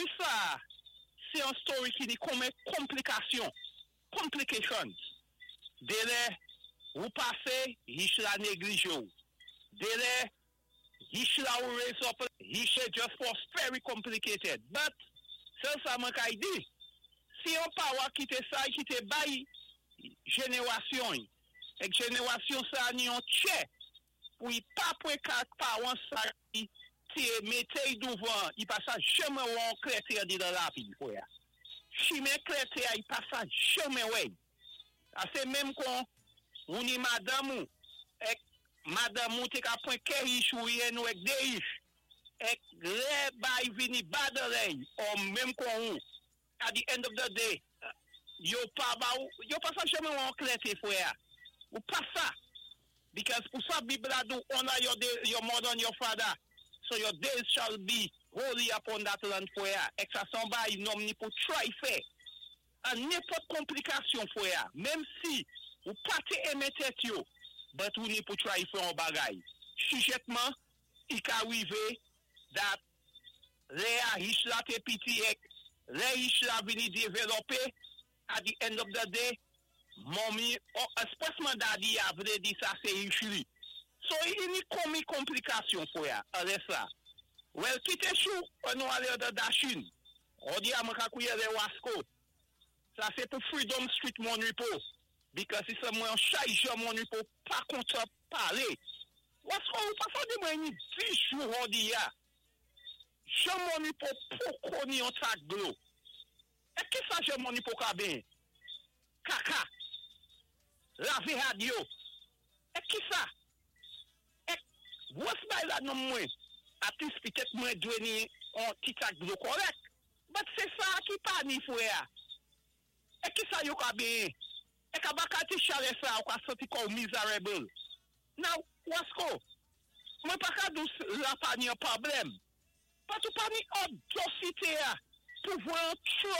Story sa, sé yon story ki ni konmen konplikasyon, complications. Délè, ou pasé, yich la neglijé ou. Délè, yich la ou raise up, yich just for very complicated. But, sèl sa mwen kay di, si yon pawan ki té sa, ki té bay jenerasyon, èk jenerasyon sa ni yon tchè, pou i pa pwen ka pawan sa ki té mété y douvan, i pa sa janmen wè an klèté an di dan lavi, fwè. Chimen klèté a, i pa sa janmen wè. A sé menm kon, ou ni madanm ou, èk madanm ou té ka pwen kè yich ou yen ou èk dé yich, èk lè bay vini badaley, ou menm kon ou, at the end of the day, yo pa ba ou, yo pa sa janmen wè an klèté, fwè. Ou pa sa. Because ou sa Bib la di ou, honor your mother and your father, so your days shall be holy upon that land, fwè. Èk sa son bay, nonm ni pou try fè. An nenpòt konplikasyon, fwè, menm si ou pa té enmen tèt yo, but ou ni pou try fè an bagay. Sijètman, i ka wivé that lè a yich la té piti èk, lè yich la vini dévelopé, at the end of the day, mommy, ou espresman daddy a vlé di sa sé yich li. So, i ni konmi konplikasyon, fwè, alè sa. Well, kité chou, an nou alé dan Dashin. Hodi a mwen ka kouye lè Wasko. Sa sé pou Freedom Street Mon Repos. Because si sa mwen chay jan Mon Repos pa kontan palé. Wasko, ou pa sa di mwen ni 10 jou hodi ya. Jan Mon Repos poko ni yon tak dlo. E ki sa jan Mon Repos ka ben? Kaka. Lavé had yo. E ki sa? E, wos bay la nan mwen? At least pitèt mwen dwé ni an ti tak dlo kòrèk. But sé sa ki pa ni, fwè. E ki sa yo ka ben? E ka baka ti chalè sa ou ka santi kò miserable. Now, Wasko, mwen pa ka dous la pa ni an pwoblèm. But ou pa ni audacity a pou voye an truck.